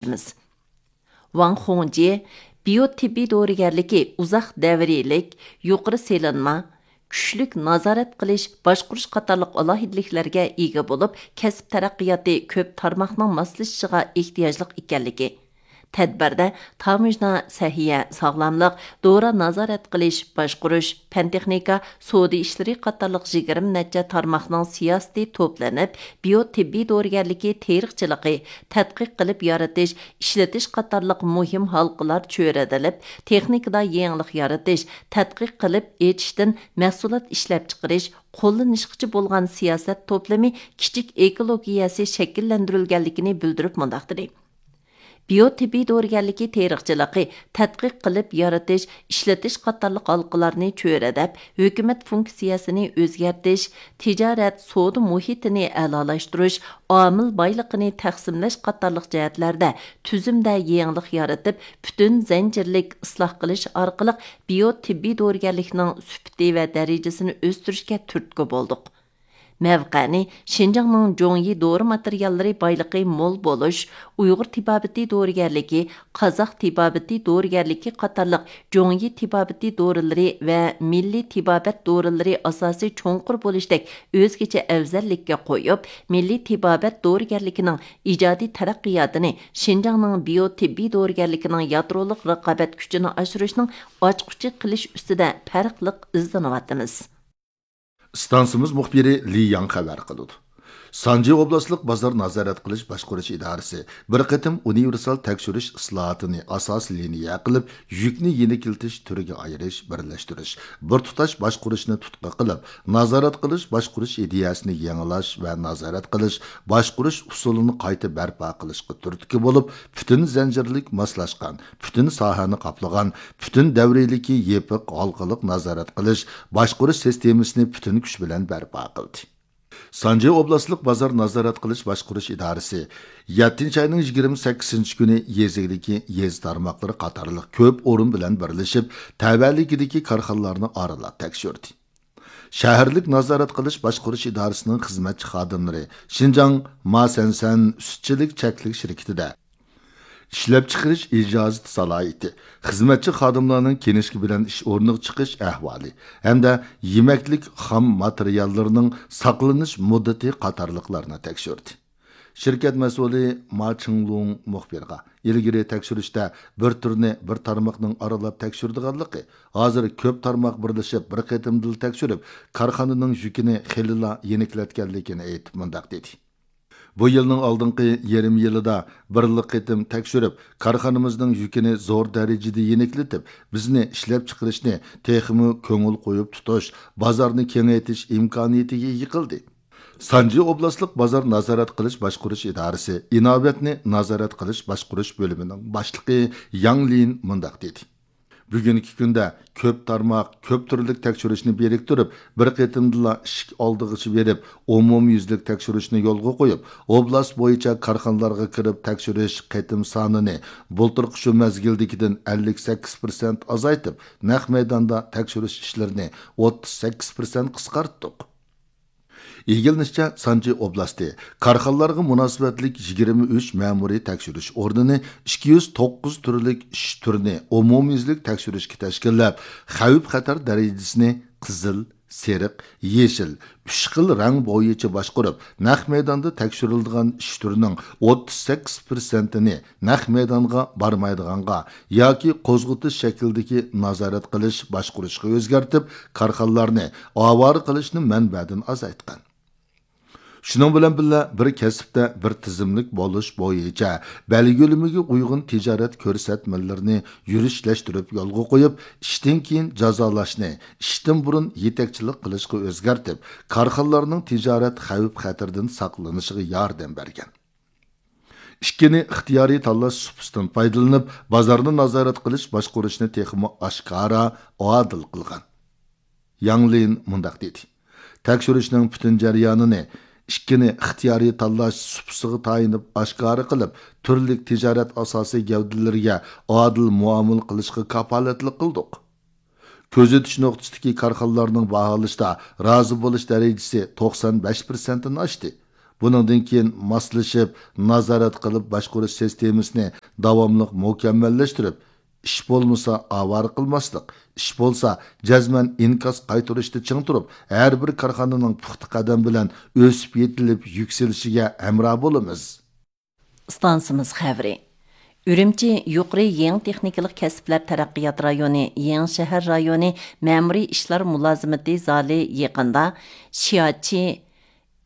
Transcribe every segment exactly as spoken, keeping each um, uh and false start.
ئىدارىسىمىز. ۋاڭ خۇڭجيې بىيو تېببىي دورىگەرلىكى ئۇزاق دەۋرىيلىك، يۇقىرى سېلىنما، كۈچلۈك نازارەت قىلىش، باشقۇرۇش قاتارلىق ئالاھىدىلىكلەرگە ئىگە بولۇپ، كەسىپ تەرەققىياتى كۆپ تارماقنىڭ ماسلىشىشىغا ئېھتىياجلىق ئىكەنلىكى، تەدبىردە تاموژنا، سەھىيە، ساغلاملىق، دورا نازارەت قىلىش، باشقۇرۇش، پەن تېخنىكا، سودا ئىشلىرى قاتارلىق يىگىرمە نەچچە تارماقنىڭ سىياسىتى توپلىنىپ، بىيو تېببىي دورىگەرلىكى تېرىقچىلىقى، تەتقىق قىلىپ يارىتىش، ئىشلىتىش قاتارلىق مۇھىم ھالقىلار چۆرىدىلىپ، تېخنىكىدا يېڭىلىق يارىتىش، تەتقىق قىلىپ ئېچىشتىن مەھسۇلات ئىشلەپچىقىرىش، قوللىنىشقىچە بولغان سىياسەت توپلىمى كىچىك ئېكولوگىيەسى شەكىللەندۈرۈلگەنلىكىنى بىلدۈرۈپ مۇنداق دېدى: بىيو تېببىي دورىگەرلىكى تېرىقچىلىقى، تەتقىق قىلىپ يارىتىش، ئىشلىتىش قاتارلىق ھالقىلارنى چۆرىدەپ، ھۆكۈمەت فۇنكسىيەسىنى ئۆزگەرتىش، تىجارەت، سودا مۇھىتىنى ئەلالاشتۇرۇش، ئامىل بايلىقىنى تەقسىملەش قاتارلىق جەھەتلەردە تۈزۈمدە يېڭىلىق يارىتىپ، پۈتۈن زەنجىرلىك ئىسلاھ قىلىش ئارقىلىق بىيو تېببىي دورىگەرلىكنىڭ سۈپىتى ۋە دەرىجىسىنى ئۆستۈرۈشكە تۈرتكە بولدۇق. مەۋقەنى شىنجاڭنىڭ جوڭيى دورا ماتېرىياللىرى بايلىقى مول بولۇش، ئۇيغۇر تېبابىتى دورىگەرلىكى، قازاق تېبابىتى دورىگەرلىكى قاتارلىق جوڭيى تېبابىتى دورىلىرى ۋە مىللىي تېبابەت دورىلىرى ئاساسى چوڭقۇر بولۇشتەك ئۆزگىچە ئەۋزەللىككە قويۇپ، مىللىي تېبابەت دورىگەرلىكىنىڭ ئىجادىي تەرەققىياتىنى شىنجاڭنىڭ بىيو تېببىي دورىگەرلىكىنىڭ يادرولۇق رىقابەت كۈچىنى ئاشۇرۇشنىڭ ئاچقۇچى قىلىش ئۈستىدە پەرقلىق ئىزدىنىۋاتىمىز. ئىستانسىمىز مۇخبىرى لى ياڭ خەۋەر قىلىدۇ. سانجى ئوبلاستلىق بازار نازارەت قىلىش باشقۇرۇش ئىدارىسى بىر قېتىم ئۇنىۋېرسال تەكشۈرۈش ئىسلاھاتىنى ئاساسىي لىنىيە قىلىپ، يۈكنى يېنىكلىتىش تۈرىگە ئايرىش، بىرلەشتۈرۈش، بىر تۇتاش باشقۇرۇشنى تۇتقا قىلىپ، نازارەت قىلىش باشقۇرۇش ئىدىيەسىنى يېڭىلاش ۋە نازارەت قىلىش باشقۇرۇش ئۇسۇلىنى قايتا بەرپا قىلىشقا تۈرتكە بولۇپ، پۈتۈن زەنجىرلىك ماسلاشقان، پۈتۈن ساھەنى قاپلىغان، پۈتۈن دەۋرىيلىكى يېپىق ھالقىلىق نازارەت قىلىش، باشقۇرۇش سىستېمىسىنى پۈتۈن كۈچ بىلەن بەرپا قىلدى. سانجى ئوبلاستلىق بازار نازارەت قىلىش باشقۇرۇش ئىدارىسى يەتتىنچى ئاينىڭ يىگىرمە سەككىزىنچى كۈنى يېزا ئىگىلىكى يېزا تارماقلىرى قاتارلىق كۆپ ئورۇن بىلەن بىرلىشىپ، تەۋەلىكىدىكى كارخانىلارنى ئارىلاپ تەكشۈردى. شەھەرلىك نازارەت قىلىش باشقۇرۇش ئىدارىسىنىڭ خىزمەتچى خادىملىرى شىنجاڭ ماسەنسەن سۈتچىلىك چەكلىك شىركىتىدە ئىشلەپچىقىرىش ئىجازىتى سالاھىيىتى، خىزمەتچى خادىملارنىڭ كىنىشكا بىلەن ئىش ئورنىغا چىقىش ئەھۋالى ھەمدە يېمەكلىك خام ماتېرىياللىرىنىڭ ساقلىنىش مۇددىتى قاتارلىقلارنى تەكشۈردى. شىركەت مەسئۇلى ما چىڭلۇڭ مۇخبىرغا ئىلگىرى تەكشۈرۈشتە بىر تۈرنى بىر تارماقنىڭ ئارىلاپ تەكشۈرىدىغانلىقى، ھازىر كۆپ تارماق بىرلىشىپ بىر قېتىمدىلا تەكشۈرۈپ، كارخانىنىڭ يۈكىنى خېلىلا يېنىكلەتكەنلىكىنى ئېيتىپ مۇنداق دېدى. بۇ يىلنىڭ ئالدىنقى يېرىم يىلىدا بىرلا قېتىم تەكشۈرۈپ، كارخانىمىزنىڭ يۈكىنى زور دەرىجىدە يېنىكلىتىپ، بىزنى ئىشلەپچىقىرىشنى تېخىمۇ كۆڭۈل قويۇپ تۇتۇش، بازارنى كېڭەيتىش ئىمكانىيىتىگە ئىگە قىلدى. سانجى ئوبلاستلىق بازار نازارەت قىلىش باشقۇرۇش ئىدارىسى ئىناۋەتنى نازارەت قىلىش باشقۇرۇش بۆلۈمىنىڭ باشلىقى ياڭ لىن مۇنداق دېدى. بۈگۈنكى كۈندە كۆپ تارماق، كۆپ تۈرلۈك تەكشۈرۈشنى بىرىكتۈرۈپ، بىر قېتىمدىلا ئىشىك ئالدىغىچە بېرىپ، ئومۇميۈزلۈك تەكشۈرۈشنى يولغا قويۇپ، ئوبلاست بويىچە كارخانىلارغا كىرىپ تەكشۈرۈش قېتىم سانىنى بۇلتۇرقى شۇ مەزگىلدىكىدىن ئەللىك سەككىز پىرسەنت ئازايتىپ، نەق مەيداندا تەكشۈرۈش ئىشلىرىنى ئوتتۇز سەككىز پىرسەنت قىسقارتتۇق. ئىگىلىنىشىچە، سانجى ئوبلاستى كارخانىلارغا مۇناسىۋەتلىك يىگىرمە ئۈچ مەمۇرىي تەكشۈرۈش ئورنىنى، ئىككى يۈز توققۇز تۈرلۈك ئىش تۈرىنى ئومۇميۈزلۈك تەكشۈرۈشكە تەشكىللەپ، خەۋپ خەتەر دەرىجىسىنى قىزىل، سېرىق، يېشىل، ئۈچ خىل رەڭ بويىچە باشقۇرۇپ، نەق مەيداندا تەكشۈرۈلىدىغان ئىش تۈرىنىڭ ئوتتۇز سەككىز پىرسەنتىنى نەق مەيدانغا بارمايدىغانغا ياكى قوزغىتىش شەكلىدىكى نازارەت قىلىش باشقۇرۇشقا ئۆزگەرتىپ، كارخانىلارنى ئاۋارە قىلىشنى مەنبەدىن ئازايتقان. شۇنىڭ بىلەن بىللە، بىر كەسىپتە بىر تىزىملىك بولۇش بويىچە بەلگىلىمىگە ئۇيغۇن تىجارەت كۆرسەتمىلىرىنى يۈرۈشلەشتۈرۈپ يولغا قويۇپ، ئىشتىن كېيىن جازالاشنى ئىشتىن بۇرۇن يېتەكچىلىك قىلىشقا ئۆزگەرتىپ، كارخانىلارنىڭ تىجارەت خەۋپ خەتىرىدىن ساقلىنىشىغا ياردەم بەرگەن. ئىككىنى ئىختىيارىي تاللاش سۇپىسىدىن پايدىلىنىپ، بازارنى نازارەت قىلىش باشقۇرۇشنى تېخىمۇ ئاشكارا، ئادىل قىلغان. ياڭ لىن مۇنداق دېدى: تەكشۈرۈشنىڭ پۈتۈن جەريانىنى ئىككىنى ئىختىيارىي تاللاش سۇپىسىغا تايىنىپ ئاشكارا قىلىپ، تۈرلۈك تىجارەت ئاساسىي گەۋدىلىرىگە ئادىل مۇئامىلە قىلىشقا كاپالەتلىك قىلدۇق. كۆزىتىش نۇقتىسىدىكى كارخانىلارنىڭ باھالىشىدا رازى بولۇش دەرىجىسى توقسان بەش پىرسەنتتىن ئاشتى. بۇنىڭدىن كېيىن ماسلىشىپ، نازارەت قىلىپ باشقۇرۇش سىستېمىسىنى داۋاملىق مۇكەممەللەشتۈرۈپ، ئىش بولمىسا ئاۋارە قىلماسلىق، ئىش بولسا جەزمەن ئىنكاس قايتۇرۇشتا چىڭ تۇرۇپ، ھەر بىر كارخانىنىڭ پۇختا قەدەم بىلەن ئۆسۈپ يېتىلىپ يۈكسىلىشىگە ھەمراھ بولىمىز. ئىستانسىمىز خەۋىرى. ئۈرۈمچى يۇقىرى يېڭى تېخنىكىلىق كەسىپلەر تەرەققىيات رايونى يېڭى شەھەر رايونى مەمۇرىي ئىشلار مۇلازىمىتى زالى يېقىندا شياچى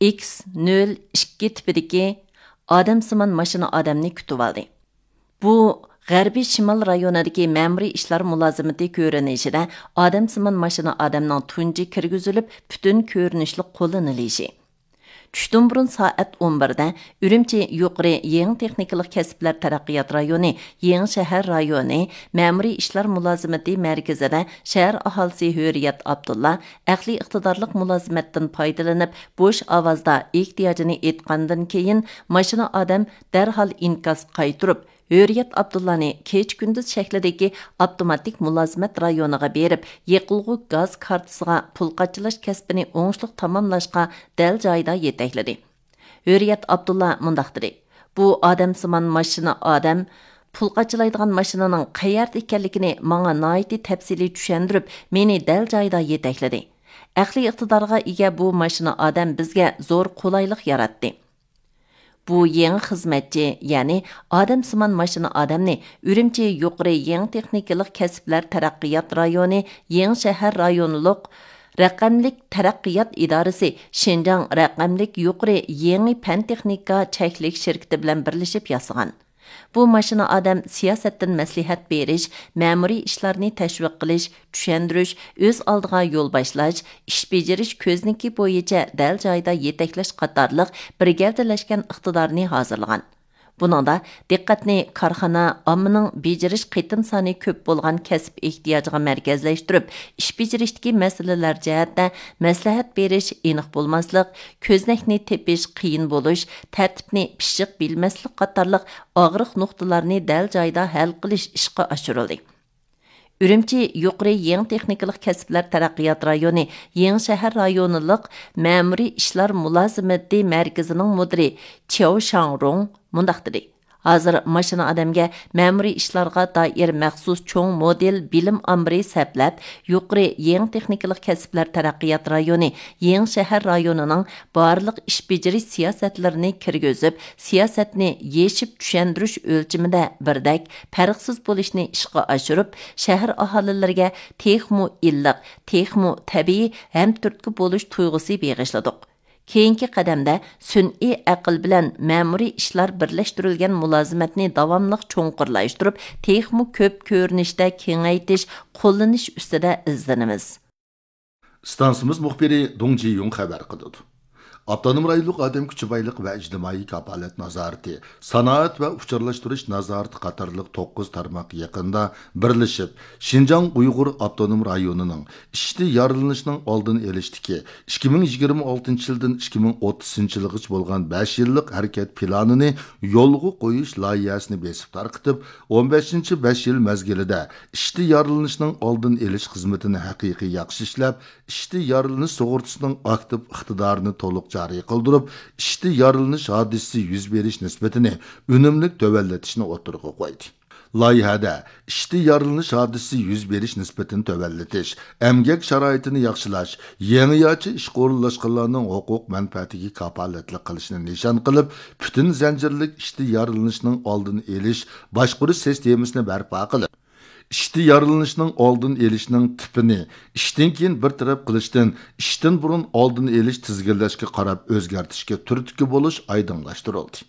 ئىكس نۆل ئىككى تىپىدىكى ئادەمسىمان ماشىنا ئادەمنى كۈتۈۋالدى. بۇ غەربىي شىمال رايونىدىكى مەمۇرىي ئىشلار مۇلازىمىتى كۆرۈنۈشىدە ئادەمسىمان ماشىنا ئادەمنىڭ تۇنجى كىرگۈزۈلۈپ، پۈتۈن كۆرۈنۈشلۈك قوللىنىلىشى. چۈشتىن بۇرۇن سائەت ئون بىردە ئۈرۈمچى يۇقىرى يېڭى تېخنىكىلىق كەسىپلەر تەرەققىيات رايونى يېڭى شەھەر رايونى مەمۇرىي ئىشلار مۇلازىمىتى مەركىزىدە شەھەر ئاھالىسى ھۆرىيەت ئابدۇللا ئەقلىي ئىقتىدارلىق مۇلازىمەتتىن پايدىلىنىپ، بوش ئاۋازدا ئېھتىياجىنى ئېيتقاندىن كېيىن، ماشىنا ئادەم دەرھال ئىنكاس قايتۇرۇپ، ھۆرىيەت ئابدۇللانى كېچە-كۈندۈز شەكلىدىكى ئاپتوماتىك مۇلازىمەت رايونىغا بېرىپ، يېقىلغۇ گاز كارتىسىغا پۇل قاچىلاش كەسپىنى ئوڭۇشلۇق تاماملاشقا دەل جايىدا يېتەكلىدى. ھۆرىيەت ئابدۇللا مۇنداق دېدى: «بۇ ئادەمسىمان ماشىنا ئادەم پۇل قاچىلايدىغان ماشىنىنىڭ قەيەردە ئىكەنلىكىنى ماڭا ناھايىتى تەپسىلىي چۈشەندۈرۈپ، مېنى دەل جايىدا يېتەكلىدى. ئەقلىي ئىقتىدارغا ئىگە بۇ ماشىنا ئادەم بىزگە زور قولايلىق ياراتتى.» بۇ يېڭى خىزمەتچى، يەنى ئادەمسىمان ماشىنا ئادەمنى ئۈرۈمچى يۇقىرى يېڭى تېخنىكىلىق كەسىپلەر تەرەققىيات رايونى يېڭى شەھەر رايونلۇق رەقەملىك تەرەققىيات ئىدارىسى شىنجاڭ رەقەملىك يۇقىرى يېڭى پەن تېخنىكا چەكلىك شىركىتى بىلەن بىرلىشىپ ياسىغان. بۇ ماشىنا ئادەم سىياسەتتىن مەسلىھەت بېرىش، مەمۇرىي ئىشلارنى تەشۋىق قىلىش، چۈشەندۈرۈش، ئۆز ئالدىغا يول باشلاش، ئىش بېجىرىش كۆزنىكى بويىچە دەل جايىدا يېتەكلەش قاتارلىق بىر گەۋدىلەشكەن ئىقتىدارنى ھازىرلىغان. بۇنىڭدا دىققەتنى كارخانا، ئاممىنىڭ بېجىرىش قېتىم سانى كۆپ بولغان كەسىپ ئېھتىياجىغا مەركەزلەشتۈرۈپ، ئىش بېجىرىشتىكى مەسىلىلەر جەھەتتە مەسلىھەت بېرىش، ئېنىق بولماسلىق، كۆزنەكنى تېپىش قىيىن بولۇش، تەرتىپنى پىششىق بىلمەسلىك قاتارلىق ئاغرىق نۇقتىلارنى دەل جايىدا ھەل قىلىش ئىشقا ئاشۇرۇلدى. ئۈرۈمچى يۇقىرى يېڭى تېخنىكىلىق كەسىپلەر تەرەققىيات رايونى يېڭى شەھەر رايونلۇق مەمۇرىي ئىشلار مۇلازىمىتى مەركىزىنىڭ مۇدىرى چياۋ شاڭرۇڭ مۇنداق دېدى: «ھازىر ماشىنا ئادەمگە مەمۇرىي ئىشلارغا دائىر مەخسۇس چوڭ مودېل بىلىم ئامبىرى سەپلەپ، يۇقىرى يېڭى تېخنىكىلىق كەسىپلەر تەرەققىيات رايونى يېڭى شەھەر رايونىنىڭ بارلىق ئىش بېجىرىش سىياسەتلىرىنى كىرگۈزۈپ، سىياسەتنى يېشىپ چۈشەندۈرۈش ئۆلچىمىدە بىردەك، پەرقسىز بولۇشنى ئىشقا ئاشۇرۇپ، شەھەر ئاھالىلىرىگە تېخىمۇ ئىللىق، تېخىمۇ تەبىئىي ھەمتۈرتكە بولۇش تۇيغۇسى بېغىشلىدۇق. كېيىنكى قەدەمدە سۈنئىي ئەقىل بىلەن مەمۇرىي ئىشلار بىرلەشتۈرۈلگەن مۇلازىمەتنى داۋاملىق چوڭقۇرلاشتۇرۇپ، تېخىمۇ كۆپ كۆرۈنۈشتە كېڭەيتىش، قوللىنىش ئۈستىدە ئىزدىنىمىز.» ئىستانسىمىز مۇخبىرى دۇڭ جىيۇڭ خەۋەر قىلىدۇ. ئاپتونوم رايونلۇق ئادەم كۈچى بايلىقى ۋە ئىجتىمائىي كاپالەت نازارىتى، سانائەت ۋە ئۇچۇرلاشتۇرۇش نازارىتى قاتارلىق توققۇز تارماق يېقىندا بىرلىشىپ، شىنجاڭ ئۇيغۇر ئاپتونوم رايونىنىڭ ئىشتىن يارىلىنىشنىڭ ئالدىنى ئېلىشتىكى ئىككى مىڭ يىگىرمە ئالتىنچى يىلدىن ئىككى مىڭ ئوتتۇزىنچى يىلغىچە بولغان بەش يىللىق ھەرىكەت پىلانىنى يولغا قويۇش لايىھەسىنى بېسىپ تارقىتىپ، ئون بەشىنچى بەش يىل مەزگىلىدە ئىشتىن يارىلىنىشنىڭ ئالدىنى ئېلىش خىزمىتىنى ھەقىقىي ياخشى ئىشلەپ، ئىشتىن يارىلىنىش سۇغۇرتىسىنىڭ ئاكتىپ ئىقتىدارىنى تولۇق جارى قىلدۇرۇپ، ئىشتىن يارىلىنىش ھادىسىسى يۈز بېرىش نىسبىتىنى ئۈنۈملۈك تۆۋەنلىتىشنى ئوتتۇرىغا قويدى. لايىھەدە ئىشتىن يارىلىنىش ھادىسىسى يۈز بېرىش نىسبىتىنى تۆۋەنلىتىش، ئەمگەك شارائىتىنى ياخشىلاش، يېڭىچە ئىشقا ئورۇنلاشقانلارنىڭ ھوقۇق مەنپەئەتىگە كاپالەتلىك قىلىشنى نىشان قىلىپ، پۈتۈن زەنجىرلىك ئىشتىن يارىلىنىشنىڭ ئالدىنى ئېلىش، باشقۇرۇش سىستېمىسىنى بەرپا قىلىپ، ئىشتىن يارىلىنىشنىڭ ئالدىنى ئېلىشنىڭ تىپىنى ئىشتىن كېيىن بىر تەرەپ قىلىشتىن ئىشتىن بۇرۇن ئالدىنى ئېلىش، تىزگىنلەشكە قاراپ ئۆزگەرتىشكە تۈرتكە بولۇش ئايدىڭلاشتۇرۇلدى.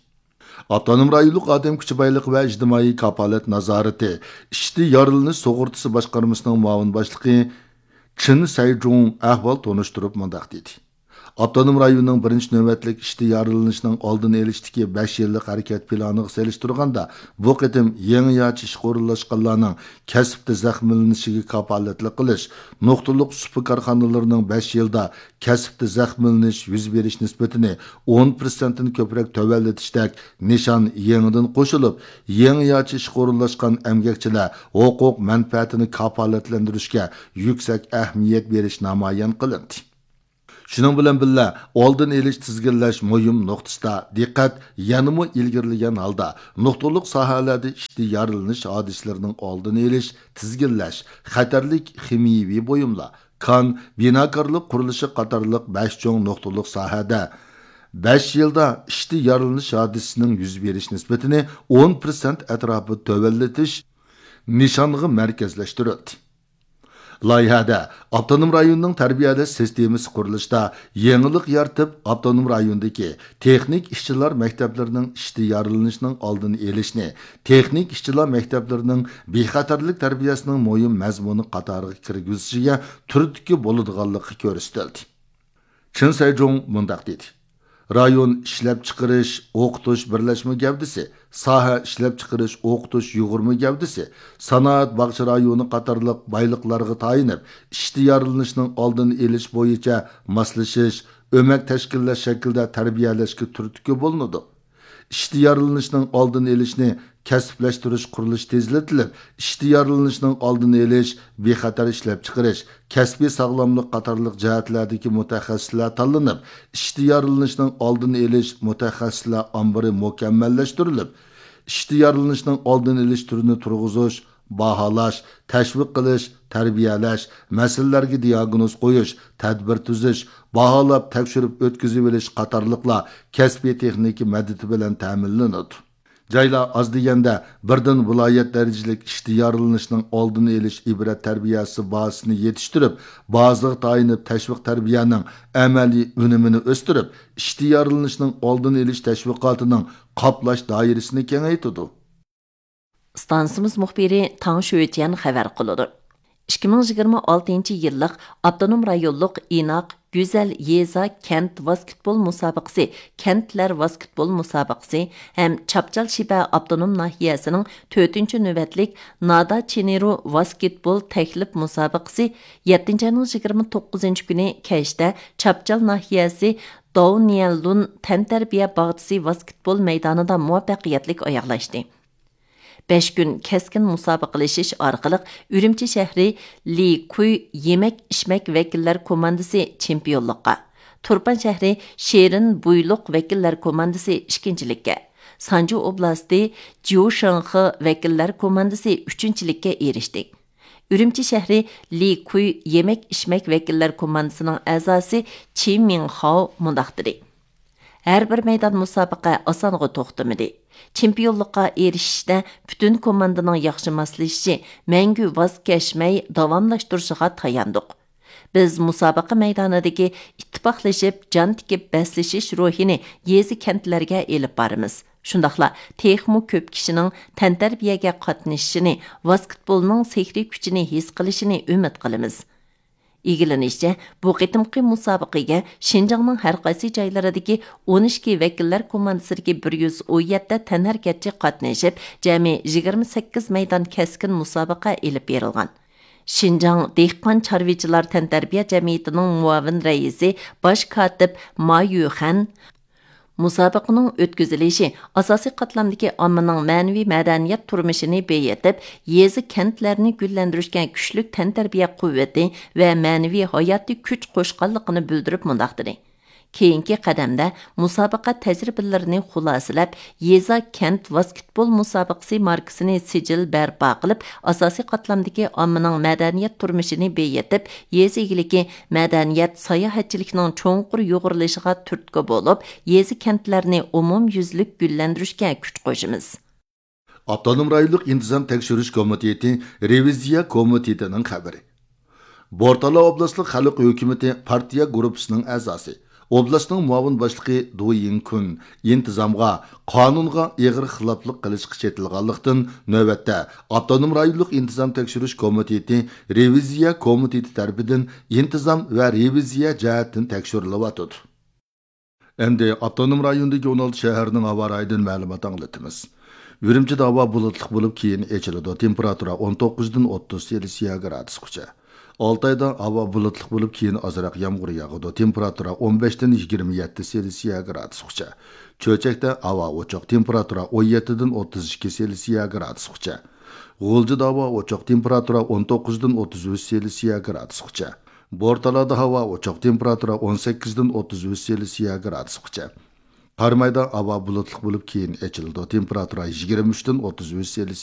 ئاپتونوم رايونلۇق ئادەم كۈچى بايلىقى ۋە ئىجتىمائىي كاپالەت نازارىتى ئىشتىن يارىلىنىش سۇغۇرتىسى باشقارمىسىنىڭ مۇئاۋىن باشلىقى چېن سەيجۇڭ ئەھۋال تونۇشتۇرۇپ مۇنداق دېدى: ئاپتونوم رايوننىڭ بىرىنچى نۆۋەتلىك ئىشتىن يارىلىنىشنىڭ ئالدىنى ئېلىشتىكى بەش يىللىق ھەرىكەت پىلانىغا سېلىشتۇرغاندا، بۇ قېتىم يېڭىچە ئىشقا ئورۇنلاشقانلارنىڭ كەسىپتە زەخىملىنىشىگە كاپالەتلىك قىلىش، نۇقتىلىق سۇپا كارخانىلىرىنىڭ بەش يىلدا كەسىپتە زەخىملىنىش يۈز بېرىش نىسبىتىنى ئون پىرسەنتتىن كۆپرەك تۆۋەنلىتىشتەك نىشان يېڭىدىن قوشۇلۇپ، يېڭىچە ئىشقا ئورۇنلاشقان ئەمگەكچىلەر ھوقۇق مەنپەئەتىنى كاپالەتلەندۈرۈشكە يۈكسەك ئەھمىيەت بېرىش نامايان قىلىندى. شۇنىڭ بىلەن بىللە، ئالدىنى ئېلىش، تىزگىنلەش مۇھىم نۇقتىسىدا دىققەت يەنىمۇ ئىلگىرىلىگەن ھالدا، نۇقتىلىق ساھەلەردە ئىشتىن يارىلىنىش ھادىسىلىرىنىڭ ئالدىنى ئېلىش، تىزگىنلەش، خەتەرلىك خىمىيەۋى بۇيۇملار، كان، بىناكارلىق قۇرۇلۇشى قاتارلىق بەش چوڭ نۇقتىلىق ساھەدە بەش يىلدا ئىشتىن يارىلىنىش ھادىسىسىنىڭ يۈز بېرىش نىسبىتىنى ئون پىرسەنت ئەتراپىدا تۆۋەنلىتىش نىشانغا مەركەزلەشتۈرۈلدى. لايىھەدە ئاپتونوم رايوننىڭ تەربىيەلەش سىستېمىسى قۇرۇلۇشىدا يېڭىلىق يارىتىپ، ئاپتونوم رايوندىكى تېخنىك ئىشچىلار مەكتەپلىرىنىڭ ئىشتىن يارىلىنىشنىڭ ئالدىنى ئېلىشنى، تېخنىك ئىشچىلار مەكتەپلىرىنىڭ بىخەتەرلىك تەربىيەسىنىڭ مۇھىم مەزمۇنى قاتارىغا كىرگۈزۈشىگە تۈرتكە بولىدىغانلىقى كۆرسىتىلدى. چېن سەيجۇڭ مۇنداق دېدى: رايون ئىشلەپچىقىرىش، ئوقۇتۇش بىرلەشمە گەۋدىسى، ساھە ئىشلەپچىقىرىش، ئوقۇتۇش يۇغۇرما گەۋدىسى، سانائەت باغچە رايونى قاتارلىق بايلىقلارغا تايىنىپ، ئىشتىن يارىلىنىشنىڭ ئالدىنى ئېلىش بويىچە ماسلىشىش، ئۆمەك تەشكىللەش شەكلىدە تەربىيەلەشكە تۈرتكە بولۇنىدۇ. ئىشتىن يارىلىنىشنىڭ ئالدىنى ئېلىشنى كەسىپلەشتۈرۈش قۇرۇلۇشى تېزلىتىلىپ، ئىشتىن يارىلىنىشنىڭ ئالدىنى ئېلىش، بىخەتەر ئىشلەپچىقىرىش، كەسپىي ساغلاملىق قاتارلىق جەھەتلەردىكى مۇتەخەسسىسلەر تاللىنىپ، ئىشتىن يارىلىنىشنىڭ ئالدىنى ئېلىش مۇتەخەسسىسلەر ئامبىرى مۇكەممەللەشتۈرۈلۈپ، ئىشتىن يارىلىنىشنىڭ ئالدىنى ئېلىش تۈرىنى تۇرغۇزۇش، باھالاش، تەشۋىق قىلىش، تەربىيەلەش، مەسىلىلەرگە دىئاگنوز قويۇش، تەدبىر تۈزۈش، باھالاپ تەكشۈرۈپ ئۆتكۈزۈۋېلىش قاتارلىقلار كەسپىي تېخنىكا مەدىتى بىلەن تەمىنلىنىدۇ. جايلار ئاز دېگەندە بىردىن ۋىلايەت دەرىجىلىك ئىشتىن يارىلىنىشنىڭ ئالدىنى ئېلىش ئىبرەت تەربىيەسى بازىسىنى يېتىشتۈرۈپ، بازىغا تايىنىپ تەشۋىق تەربىيەنىڭ ئەمەلىي ئۈنۈمىنى ئۆستۈرۈپ، ئىشتىن يارىلىنىشنىڭ ئالدىنى ئېلىش تەشۋىقاتىنىڭ قاپلاش دائىرىسىنى كېڭەيتىدۇ. ئىستانسىمىز مۇخبىرى تاڭ شۆجيەن خەۋەر قىلىدۇ. ئىككى مىڭ يىگىرمە ئالتىنچى يىللىق ئاپتونوم رايونلۇق ئىناق گۈزەل يېزا كەنت ۋاسكېتبول مۇسابىقىسى، كەنتلەر ۋاسكېتبول مۇسابىقىسى ھەم چاپچال شىبە ئاپتونوم ناھىيەسىنىڭ تۆتىنچى نۆۋەتلىك نادا چىنىرۇ ۋاسكېتبول تەكلىپ مۇسابىقىسى يەتتىنچى ئاينىڭ يىگىرمە توققۇزىنچى كۈنى كەچتە چاپچال ناھىيەسى داۋنيەنلۇن تەنتەربىيە باغچىسى ۋاسكېتبول مەيدانىدا مۇۋەپپەقىيەتلىك ئاياغلاشتى. بەش كۈن كەسكىن مۇسابىقىلىشىش ئارقىلىق ئۈرۈمچى شەھىرى لى كۇي يېمەك ئىچمەك ۋەكىللەر كوماندىسى چېمپىيونلۇققا، تۇرپان شەھىرى شېرىن بۇيلۇق ۋەكىللەر كوماندىسى ئىككىنچىلىككە، سانجۇ ئوبلاستى جيۇشېنخې ۋەكىللەر كوماندىسى ئۈچىنچىلىككە ئېرىشتى. ئۈرۈمچى شەھىرى لى كۇي يېمەك ئىچمەك ۋەكىللەر كوماندىسىنىڭ ئەزاسى چى مىڭخاۋ مۇنداق دېدى: ھەر بىر مەيدان مۇسابىقە ئاسانغا توختىمىدى. چېمپىيونلۇققا ئېرىشىشتە پۈتۈن كوماندىنىڭ ياخشى ماسلىشىشى، مەڭگۈ ۋاز كەچمەي داۋاملاشتۇرۇشىغا تاياندۇق. بىز مۇسابىقە مەيدانىدىكى ئىتتىپاقلىشىپ، جان تىكىپ بەسلىشىش روھىنى يېزا، كەنتلەرگە ئېلىپ بارىمىز. شۇنداقلا تېخىمۇ كۆپ كىشىنىڭ تەنتەربىيەگە قاتنىشىشىنى، ۋاسكېتبولنىڭ سېھرىي كۈچىنى ھېس قىلىشىنى ئۈمىد قىلىمىز. ئىگىلىنىشىچە، بۇ قېتىمقى مۇسابىقىگە شىنجاڭنىڭ ھەر قايسى جايلىرىدىكى ئون ئىككى ۋەكىللەر كوماندىسىدىكى بىر يۈز ئون يەتتە تەنھەرىكەتچى قاتنىشىپ، جەمئىي يىگىرمە سەككىز مەيدان كەسكىن مۇسابىقە ئېلىپ بېرىلغان. شىنجاڭ دېھقان چارۋىچىلار تەنتەربىيە جەمئىيىتىنىڭ مۇئاۋىن رەئىسى، باش كاتىپ ما يۈخەن مۇسابىقىنىڭ ئۆتكۈزۈلۈشى ئاساسىي قاتلامدىكى ئاممىنىڭ مەنىۋى مەدەنىيەت تۇرمۇشىنى بېيىتىپ، يېزا، كەنتلەرنى گۈللەندۈرۈشكە كۈچلۈك تەنتەربىيە قۇۋۋىتى ۋە مەنىۋى ھاياتىي كۈچ قوشقانلىقىنى بىلدۈرۈپ مۇنداق دېدى: كېيىنكى قەدەمدە مۇسابىقە تەجرىبىلىرىنى خۇلاسىلەپ، يېزا، كەنت ۋاسكېتبول مۇسابىقىسى ماركىسىنى سىجىل بەرپا قىلىپ، ئاساسىي قاتلامدىكى ئاممىنىڭ مەدەنىيەت تۇرمۇشىنى بېيىتىپ، يېزا ئىگىلىكى، مەدەنىيەت، ساياھەتچىلىكنىڭ چوڭقۇر يۇغۇرۇلۇشىغا تۈرتكە بولۇپ، يېزا، كەنتلەرنى ئومۇميۈزلۈك گۈللەندۈرۈشكە كۈچ قوشىمىز. ئاپتونوم رايونلۇق ئىنتىزام تەكشۈرۈش كومىتېتى رېۋىزىيە كومىتېتىنىڭ خەۋىرى. بورتالا ئوبلاستلىق خەلق ھۆكۈمىتى پارتىيە گۇرۇپپىسىنىڭ ئەزاسى، ئوبلاستنىڭ مۇئاۋىن باشلىقى دۇ يىڭكۈن ئىنتىزامغا، قانۇنغا ئېغىر خىلاپلىق قىلىشقا چېتىلغانلىقتىن، نۆۋەتتە ئاپتونوم رايونلۇق ئىنتىزام تەكشۈرۈش كومىتېتى رېۋىزىيە كومىتېتى تەرىپىدىن ئىنتىزام ۋە رېۋىزىيە جەھەتتىن تەكشۈرۈلۈۋاتىدۇ. ئەمدى ئاپتونوم رايوندىكى ئون ئالتە شەھەرنىڭ ھاۋا رايىدىن مەلۇمات ئاڭلىتىمىز. ئۈرۈمچىدە ھاۋا بۇلۇتلۇق بولۇپ، كېيىن ئېچىلىدۇ. تېمپېراتۇرا ئون توققۇزدىن ئوتتۇز سېلسىيە گرادۇسقىچە. ئالتايدا ھاۋا بۇلۇتلۇق بولۇپ، كېيىن ئازراق يامغۇر ياغىدۇ. تېمپېراتۇرا ئون بەشتىن يىگىرمە يەتتە سېلسىيە گرادۇسقىچە. چۆچەكتە ھاۋا ئوچۇق. تېمپېراتۇرا ئون يەتتىدىن ئوتتۇز ئىككى سېلسىيە گرادۇسقىچە. غۇلجىدا ھاۋا ئوچۇق. تېمپېراتۇرا ئون توققۇزدىن ئوتتۇز ئۈچ سېلسىيە گرادۇسقىچە. بورتالادا ھاۋا ئوچۇق، تېمپېراتۇرا ئون سەككىزدىن ئوتتۇز ئۈچ سېلسىيە گرادۇسقىچە. قارامايدا ھاۋا بۇلۇتلۇق بولۇپ، كېيىن ئېچىلىدۇ، تېمپېراتۇرا يىگىرمە ئۈچتىن ئوتتۇز ئۈچ سېلسىيە